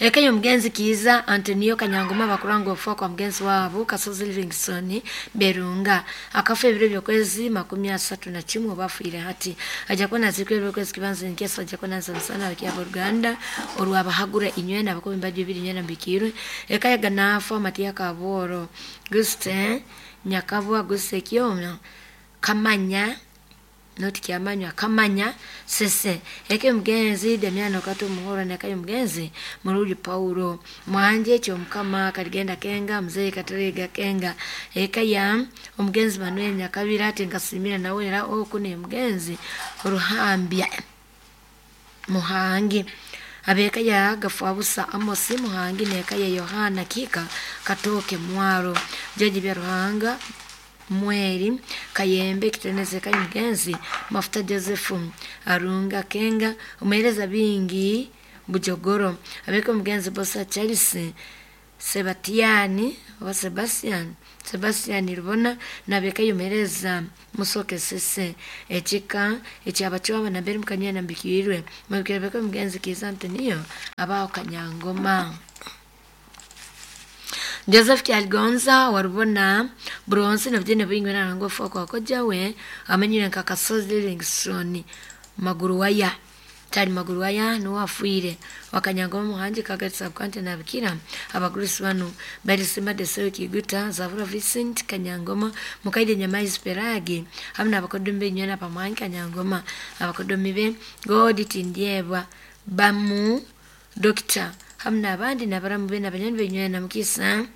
Eka y'omugenzi Kiiza Antonio Kanyangoma bakuranga okufa kwa mugenzi waabo Kasozi Livingstone Berunga akafa ebiro by'okwezi 31 oba afiire hati ajja kuba naziikwa ebiro by'okwezi kibanza nkesa ajja kuba nanza musana abakia abooluganda orwabahagura inywena abakuba embaju ibiri inywena mbikiirwe eka ya Ganafa Matiya Kabooro Guste Nyakabwa Guste Kyoma Kamanya noti kyamanywa kamanya sese eka y'omugenzi Damiano Kato Muhoro neka y'omugenzi Muruli Paulo Mwanje Kyomukama Kaligenda Kenga Mzee Katerega Kenga eka ya omugenzi Manuel Nyakabira ati nkasimira nawe era oku ne mugenzi Ruhambya Muhangi abeka ya Gafabusa Amosi Muhangi neka ya Yohana Kika Katoke Mwaro Jaji bya Ruhanga Mweri Kayembe Kiteneze kayo mugenzi Mafuta Joseph Arunga Kenga omuhereza bingi Bujogoro abeka omugenzi Bosa Charles Sebatiani oba Sebastian Sebastian Rubona nabeka yomereza Musoke Sese ekika ekyabacwaba nambere mukanyana mbikirwe mubikira beka omugenzi Kiza Antonio abaho Kanyangoma Joseph Kyaligonza warubona bronze nabyene bingwe nango kwa kojawe amanyire nka Kasozi Livingstone Maguruwaya Tari Maguruwaya nuwe afiire Wakanyangoma Muhangi Kagati Subcounty nabikira abagurusi banu Balisima Desewe Kiguta Zavura Vincent Kanyangoma Mukaide Nyamaizi Peragi hamwe n'abakodomi b'enywena Pamuhangi Kanyangoma abakodomi be God Tindyebwa Bamu Dokita hamwe n'abandi n'abaramu be n'abanywanyi b'enywena Mukisa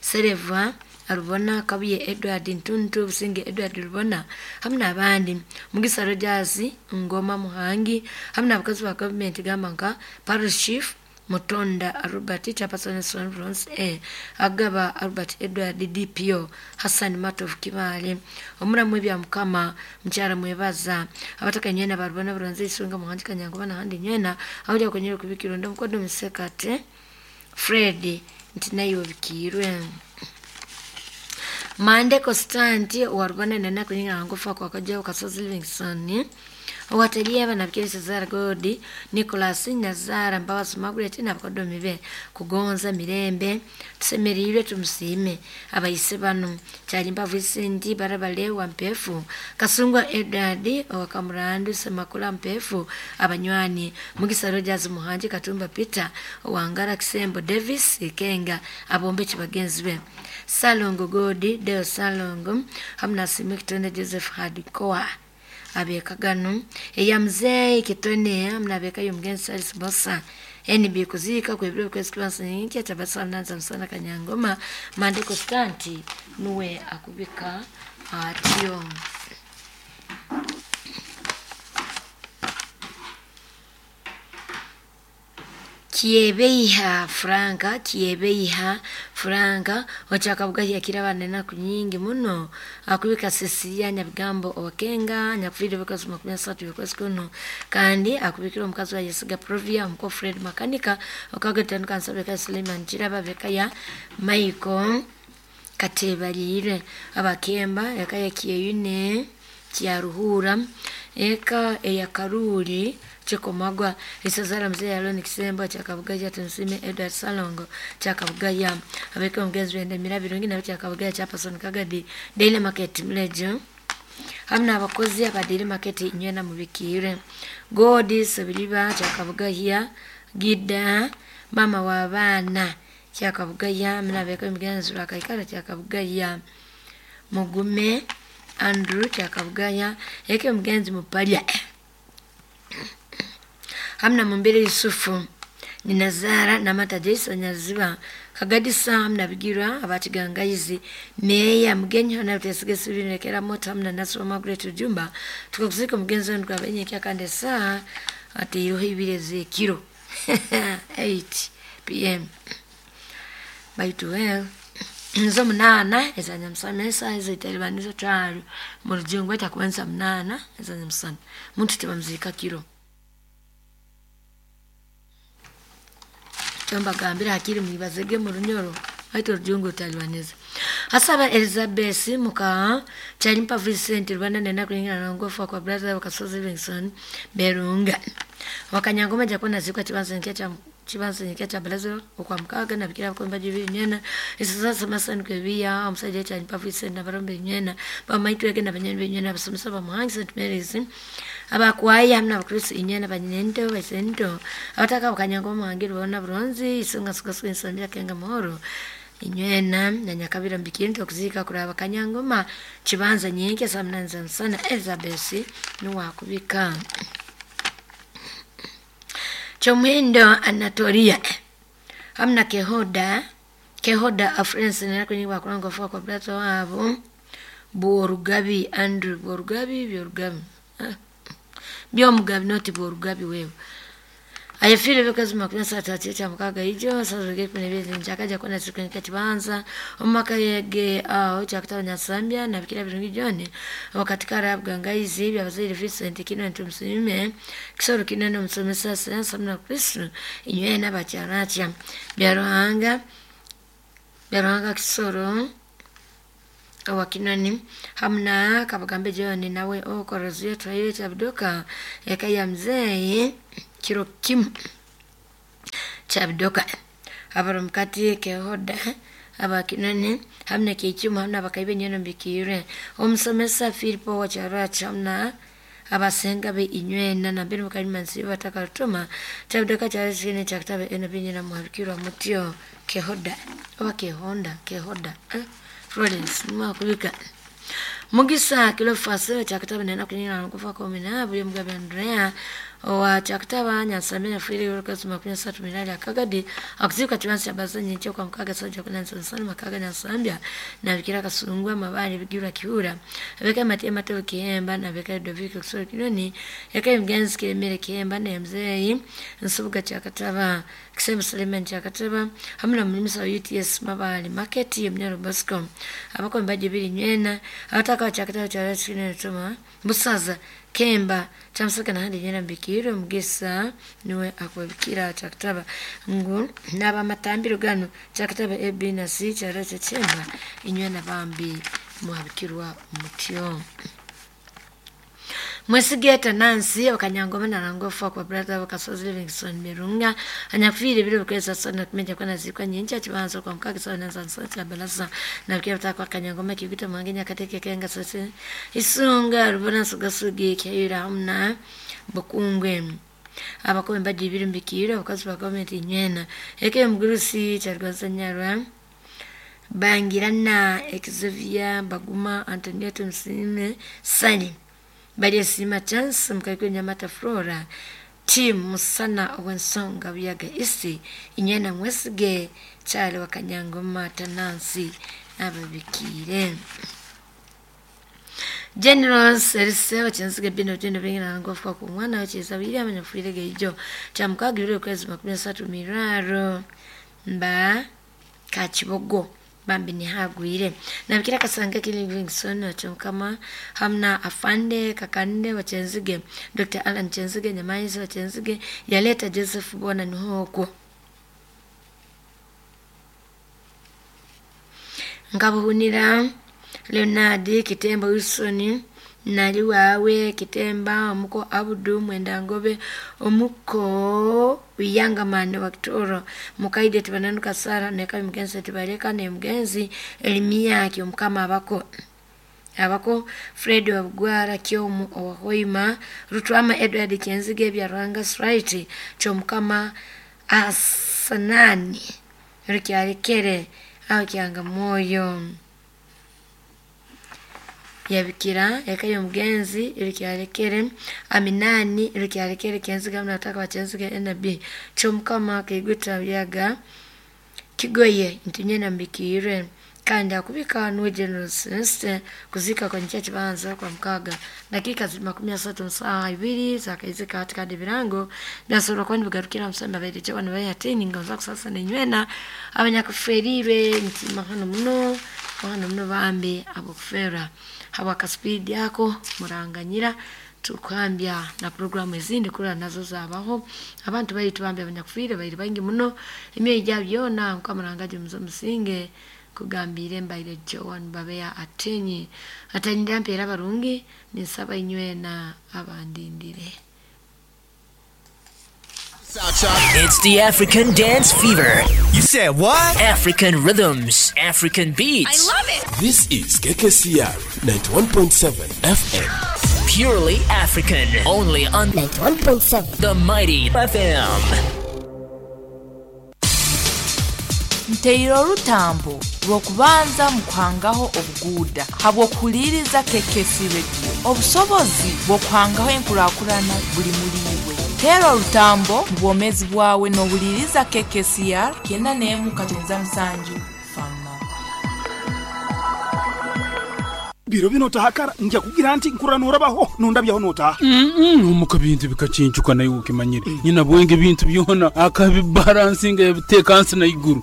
Sereva Arubona Kabuye Edward Ntuntu Businge Edward Rubona hamwe n'abandi Mugisa Rogers Ngoma Muhangi hamwe n'abakozi ba gavumenti gamba nka Parish Chief Mutonda Albert Chairperson Bronze A Agaba Albert Edward DPO Hassan Matovu Kibaale omuramu ebya Mukama mukyara mwebaza abataka nywena barubona Bronze Isunga Muhangi Kanyangoma n'ahandi nywena aho ujya kwenyera kubikira omukodo Musekate Fred nti nayo obikiirwe Mande Constanti warubona nena kunyinga ngufa kwa kajawo Kasozi Livingstone owatelieva nabikiri Cesar Godi Nicholas Nyazara Mbabazi Margaret n'abakodomi be kugonza mirembe tusemereirwe tumusiime abayise bano Kyalimpa Vincent Barabale wa Mpefu Kasungwa Edward owa Kamurandu Semakula Mpefu abanywani Mugisa Rogers Muhangi Katumba Peter Owangara Kisembo Davis Ikenga abombeki bagenzi be Salongo Godi Deo Salongo hamwe na Simi Kitonde Joseph Hadikoa abeka gano eya mzee Kitone hamwe abeka y'omugenzi Charles Bosa NB kuziika kwebiro kwezi kibanza nkya tabasa nanza musana Kanyangoma Mande Constanti nuwe akubika atyo. Kiebeiha Franka Kiebeiha Franka ochakabuga yakira bana kunyingi muno akubika Cecilia Nyabigambo owakenga nyakufire bikazi 33 bikozi kuno kandi akubikira omukazi wa Yesiga Provia omuko Fred Makanika okagatano kansabeka Suleiman Kiraba beka ya Michael Katebalire abakemba eka ya Kiyune Kyaruhura eka eya Karuri Chikomagwa isazara mzee Aloni Kisembo chakabugaya Tunsime Edward Salongo chakabugaya abeka omugenzi wende mirabirungi na chakabugaya Chairperson Kagadi Daily Market Mlejo hamwe n'abakozi aba Daily Market inywena mubikire God Sabiliba chakabugaya Gida mama wa bana chakabugaya hamwe n'abeka omugenzi rwakaikara chakabugaya Mugume Andrew chakabugaya eke omugenzi Mupalya hamna Mumbere Yusufu Ninazara Namata Jason Nyaziba Kagadisa hamna Bigirwa abatigangaizi meya mugenyi hona utesige sibinekera moto hamna Nasro Margaret Jumba tukakuzika mugenzi wenu kwa benye kya kande saa ati iroho ibireze kiro 8 pm baitu well nzo 8 ezanyamusana esaha ezitalibaniza twalo mu rujungu etakubanza 8 ezanyamusana muntu tebamuzika kiro mbagambira hakiri mwibazege mu runyoro Haito rujungu utalibaniza. Hasaba Elizabeth muka Kyalimpa Vincent Rwanda nena kulingana na ngofa kwa brother wa Kasozi Livingstone Berunga. Wakanyangoma jakona zikwa chibanza nkecha chibanza nkecha balazo okwa mukaga na bikira ko mbaji binyena isasa masani kwebiya omusajja cha mpavise na barombe nyena bamaitu yake na banyeni binyena basomesa bamuhangi St Mary's abakwaya hamna abakristo inyena banyento basento abataka bakanyangoma hangi bona bronzi isunga suka suka insambira kenga mahoro inywena na nyakabira mbikinto okuzika kuraba kanyangoma chibanza nyingi samnanza sana Elizabeth nuwakubika Chomuhindo Anatolia hamna kehoda kehoda afrensi nera kunyibwa kurango fwa kwa brato wabo Bworugabi Andrew Bworugabi Byorugabi Byomugabi noti Bworugabi wewe ayefile bikazi makumi asatu aticha mukaga ijo sasa kune bizi njakaja kona siku kibanza omaka yege aho chakutaba nyasambya na bikira birungi jone wakati karabwa ngaizi byabazaire Vincent kino ntumsime kisoro kinene omusomesa sensa mna Kristo inywe n'abakyaracha byaruhanga byaruhanga kisoro awakinani hamna kabagambe jone nawe okoroziyo twayo chabudoka eka ya mzee kiro kimu chabudoka abaro mukati kehoda abakinani hamna kichuma hamna bakaibe nyeno mbikire omusomesa Filipo wacharacha hamna abasenga be inywena na mbere mukalimansi batakatuma chabudoka chasine chakutabe eno binyina muhabikirwa mutyo kehoda oba kehonda kehoda Florence mwakubika Mugisa kilo fase chakutaba nena kunyina kufa kwa mina buli mugabe Andrea owa chakutaba nyansamira fili yokazi makumi asatu minali akagadi akuzika chibansi abazanyi ncho kwa mukaga soja kuna nsonsoni makaga nyansambya na bikira kasungwa mabali bigirwa kihura abeka mati mateo kihemba na beka Doviko kusoro kinoni eka mgenzi kiremere kihemba na mzee nsubuga chakataba kisema Suleiman chakataba hamna mlimisa wa UTS mabali market mnyaro Bosco abako mbaje bili nywena abataka chakataba cha chine tuma busaza kemba chamusaka na handi nyena mbikiro mugisa niwe akwabikira chakataba ngu naba matambiro gano chakataba A B na C characha chemba inywena bambi muhabikirwa mutyo Mwesigeta Nancy wakanyangoma na rangofa kwa brother wakasozi Livingstone Mirunga anyafiri bile kweza sana kumeja kwa nazikwa nyinja chibanzo kwa mkaki sana zansa cha balasa na kia kwa kanyangoma kiguta mwangenya kateke kenga sase isunga rubona sugasugi kyayira hamna bukungwe abakombe mbajibiri mbikira wakazi wa government inywena eke mgurusi chargonza nyarwa Bangirana Exevia Baguma Antonietto Msime Sani Bali sima chance mkaiko nyamata Flora Tim Musana Owensonga buyaga isi inyena mwesige chale wakanyangoma tanansi ababikire General Serse wachinzige bino tendo bingina ngofu kwa mwana wachiza bili amanyafurire ijo cha mukagirire kwezi 13 miraro mba kachibogo bambi ni hagwire nabikira kasanga Livingstone wachomkama hamna afande kakande wachenzige Dr. Alan Chenzige Nyamaizi wachenzige yaleta Joseph Bona nihoko Nkabuhunira Leonard Kitemba Wilson nali wawe Kitemba omuko Abudu Mwenda Ngobe omuko Wiyangamane wa Kitoro mukaide tibananuka Sara neka mgenzi tibaleka ne mgenzi Elimia kyomukama abako abako Fred Wabugwara kyomu owahoima Rutwama Edward Kenzige bya Rwanga Sprite kyomukama Asanani rukyalekere aho kyanga moyo yabikira eka mugenzi irikyalekere aminani irikyalekere kenziga mnataka wachenziga NB chomkama kiguta byaga kigoye ntinye nambikire kandi akubika nuwe General Celeste kuzika kwa nchachi banza kwa mkaga dakika 30 saa ibiri zakaizika katika birango byasoro kwani bigarukira msamba baire bano bayatini ngonza kusasa nenywena abanyakuferire nti mahano muno mahano muno bambe abokufera hawa kaspeed yako muranganyira tukwambya na programu ezindi kula nazo zabaho abantu baitu bambe abanyakufire bairi bangi muno emyoyo gyabyo nkamurangaje muzo musinge kugambire mbaire Joan Babeya atenyi atanyira mpera barungi ninsaba inywena abandindire. It's the African Dance Fever. You said what? African rhythms, African beats. I love it. This is KKCR 91.7 FM. Purely African. Only on 91.7 the Mighty FM. Nteire orutambo rw'okubanza mu kuhangaho obuguuda habw'okuhuliiriza KKC Radio. Obusobozi bw'okuhangaho enkurakurana buli muli iwe. Teera orutambo mu bwomeezi bwawe n'ohuliiriza KKCR 91.7 Fama. Biro bino otahakara nja kugira nti nkurra norabaho nondabyaho notaha. Omuka bintu bikacincuka naye ukimanyire nyina bwenge bintu byona akabibalansinga yabiteeka nsi na iguru.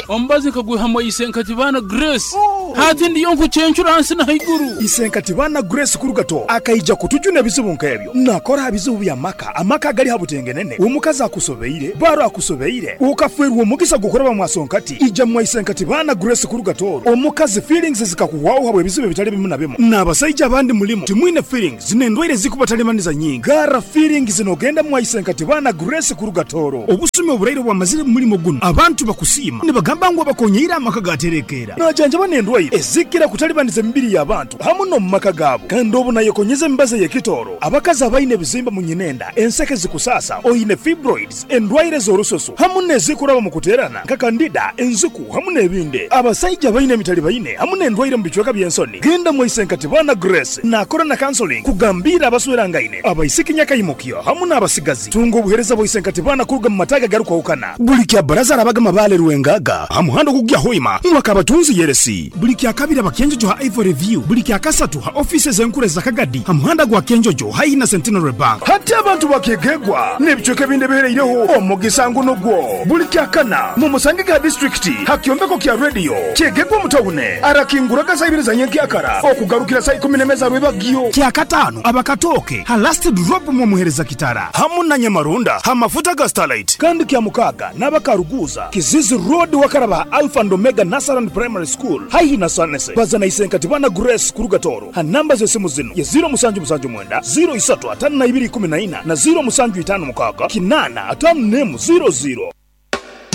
Omubazi nkagwihamu isenkati baana Grace. Hati ndiyo nkucencura nsi na iguru. Isenkati baana Grace kurugato akaija kutujuna ebizibu nk'ebyo. Nakora bizibu bya maka amaka gali habutengenene omukazi akusobeire baro akusobeire ukafwerwa omugisa gukoraba mwasonkati ija mwa isenkati baana Grace kurugato omukazi feelings zikakuwaho habwe ebizibu bitali bimu na bimu n'abasajja abandi mulimu timwine feelings n'endwaire zikubatalibaniza nyingi gara feelings nogenda mwaisenkati baana Grace kurugatoro obusumi oburaire bwamazire mu mulimo guno abantu bakusiima nibagamba ngu abakonyeire amaka gaterekeera najanjaba n'endwaire ezikira kutalibaniza emibiri y'abantu hamu n'omu maka gaabo kandi obu nayekonyeza emibazi ey'ekitooro abakazi abaine ebizimba mu nyinenda enseke zikusasa oine fibroids endwaire z'orususu hamu n'ezikuraba mu kuteerana nka kandida enziku hamu n'ebindi abasajja abaine emitali baine hamu n'endwaire mu bicweka by'ensoni genda mwaisenkati baana Grace nakora na counseling kugambira abaswerangaine abaisiki nyakaimukyo hamu n'abasigazi tunga obuhereza bwaisenkati baana kuruga mu mataga garukwahukana buli kya baraza arabaga mabale rwengaga hamuhando kugya hoima mwaka abatunzi yeresi buli kya kabiri abakenjojo ha Ivory View buli kya kasatu ha offices enkuru za Kagadi hamuhanda gwa Kenjojo haihi na Centenary Bank hati abantu bakegegwa n'ebicweka ebindi bihereireho omugisa nguno gwo buli kya kana mu musange ga district hakyombeko kya radio kyegegwa mutawune arakinguraga saa ibiri za nyenkyakara okugarukira saa 12 za rwebagyo kya katano abakatoke ha last drop mu muhereza kitara hamu na nyamarunda ha mafuta ga Starlight kandi kya mukaga n'abakaruguza Kizizi Road wakaraba Alpha and Omega Nasaran Primary School haihi na Sanese bazana isenkati bana Grace kurugatoro ha namba z'esimu zino ya 0779 035214 na 0756 8 5 00.